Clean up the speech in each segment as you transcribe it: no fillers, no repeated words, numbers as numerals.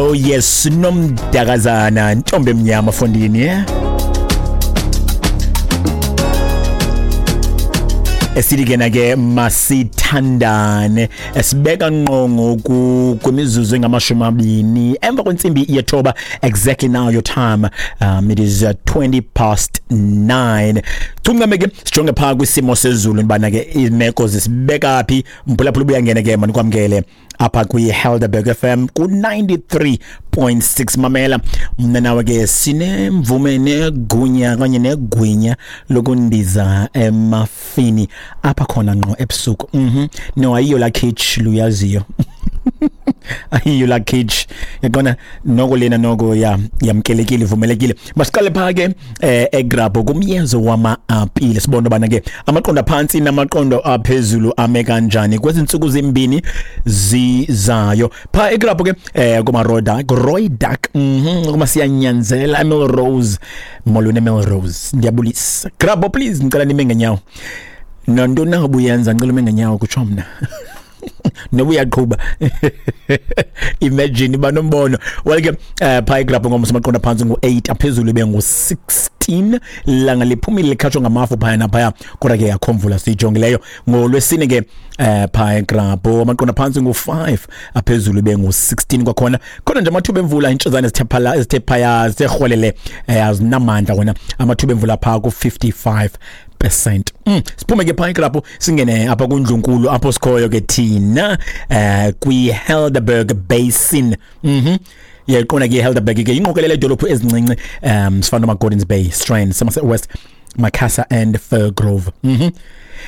Oh yes, nomdakazana ntombi emnyama fondini, yeah? Esithi ke na ke masithandane, esibeka ngqo ngoku kwimizuzu engamashumi 20 emva kwentsimbi yethoba, exactly now your time, it is 9:20. Chungame ke sijonge phaa kwisimo sezulu bana ke imeko zisibeka phi. Mphulaphula ubuyangena ke, manikwamkele apha kwi-Helderberg FM ku-93.6. Mamela, mna nawe ke sinemvume negunya kanye negwinya lokundiza emafini apha khona ngqo ebusuku. No, ayiyo la kitch luyaziyo, ayiyo la kitch yaqona noko lena noko ya yamkelekile, ivumelekile. Masiqale phaa ke egrabho kumyezo wama-apile, sibone ubana ke amaqondo aphantsi namaqondo aphezulu ame kanjani kwezi ntsuku zimbini zizayo. Phaa egrabho ke kumaroda Rooidak, kuma siyanyanzela eMelrose. Molweni eMelrose, ndiyabulisa. Grabho, please, ndicela nime ngenyawo. Nantoni na ubuyenza, ndicela ume ngenyawo, kutsho mna noba uyaqhuba. Imagine banombono. Well ke phaa egrabho ngomso amaqondo aphantsi ngu-8, aphezulu ibe ngu-16. Langa liphumile, likhatshwa ngamafu phaya naphaya, kodwa ke akho mvula siyijongileyo. Ngolwesine ke phaa egrabho amaqondo aphantsi ngu-5, aphezulu ibe ngu-16 kwakhona. Khona nje amathuba emvula, intshozana ezithe phala, ezithe phaya, zithe rhwelele, azinamandla wona amathuba emvula phaa ku-55%. Siphume ke phaa egrabho singene apha kundlunkulu apho sikhoyo ke thina kwi-Helderberg Basin. Yayiqonda ke iHelderberg ke ingqokelela idolophu ezincinci, sifana noma-Gordons Bay, Strand, Somerset West, Macassar and Firgrove.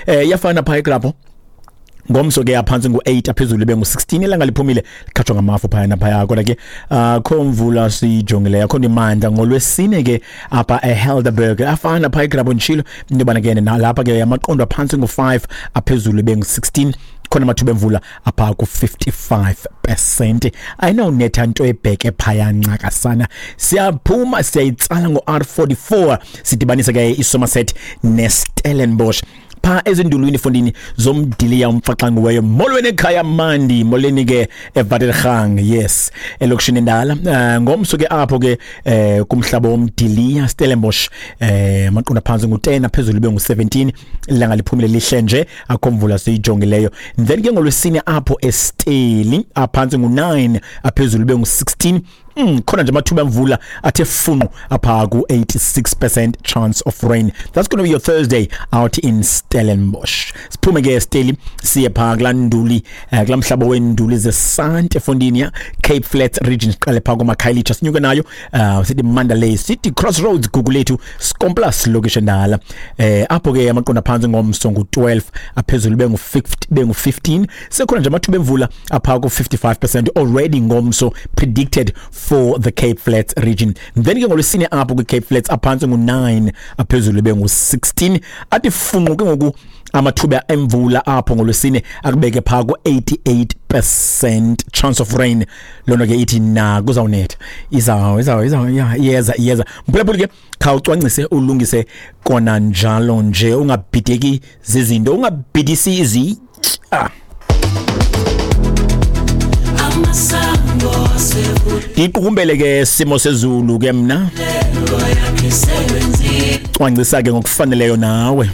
Iyafana phaa egrabho ngomso ke, aphantsi ngu-8, aphezulu ibe ngu-16. Ilanga liphumile, likhatshwa ngamafu phaya naphaya, kodwa ke akho mvula siyijongileyo, akho nto imandla. Ngolwesine ke apha eHelderberg afana phaa egrabho, nditshilo into yobana ke nalapha ke amaqondo aphantsi ngu-5, aphezulu ibe ngu-16. Khona amathuba emvula apha ku-55%. Ayinawunetha nto ebheke phaya ncakasana. Siyaphuma siyayitsala ngo-R44, sidibanise ke iSomerset neStellenbosch phaa ezindulwini fondini zomdiliya umfaxangiweyo. Molweni ekhaya mandi, molweni ke eVatergang, yes, elokishini endala. Ngomso ke apho ke kumhlaba womdiliya Stellenbosch, amaqondo aphantsi ngu-10, aphezulu ibe ngu-17. Ilanga liphumile, lihle nje, akho mvula siyijongileyo. Then ke ngolwesine apho eSteli aphantsi ngu-9, aphezulu ibe ngu-16. Khona nje amathuba emvula athe funqu apha ku-86% chance of rain. That's going to be your Thursday out in Stellenbosch. Siphume ke Steli siye phaa kulaa nduli, kulaa mhlaba weenduli zesante efondini ya Cape Flats region. Siqale phaa komakhayelitsha, sinyuke nayo, sithi Mandalay City, Crossroads, Gugulethu, Scomplas, lokishi endala. Apho ke amaqondo aphantsi ngomso ngu-12, aphezulu bengu-50, bengu-15. Sekhona nje amathuba emvula apha ku-55% already ngomso predicted for the Cape Flats region. Then ke ngolwesine apho kwi-Cape Flats aphantsi ngu-9, aphezulu bengu-16. Athi funqu ke ngoku amathuba emvula apho ngolwesine, akubeke phaa ku-88% chance of rain. Loo nto ke ithi na kuzawunetha, iza ya, iyeza, iyeza. Mphulaphuli ke khawucwangcise, ulungise kona njalo nje, ungabhideki zizinto, ungabhidisi izitya. Ndiqukumbele ke simo sezulu ke mna, cwangcisa ke ngokufaneleyo nawe.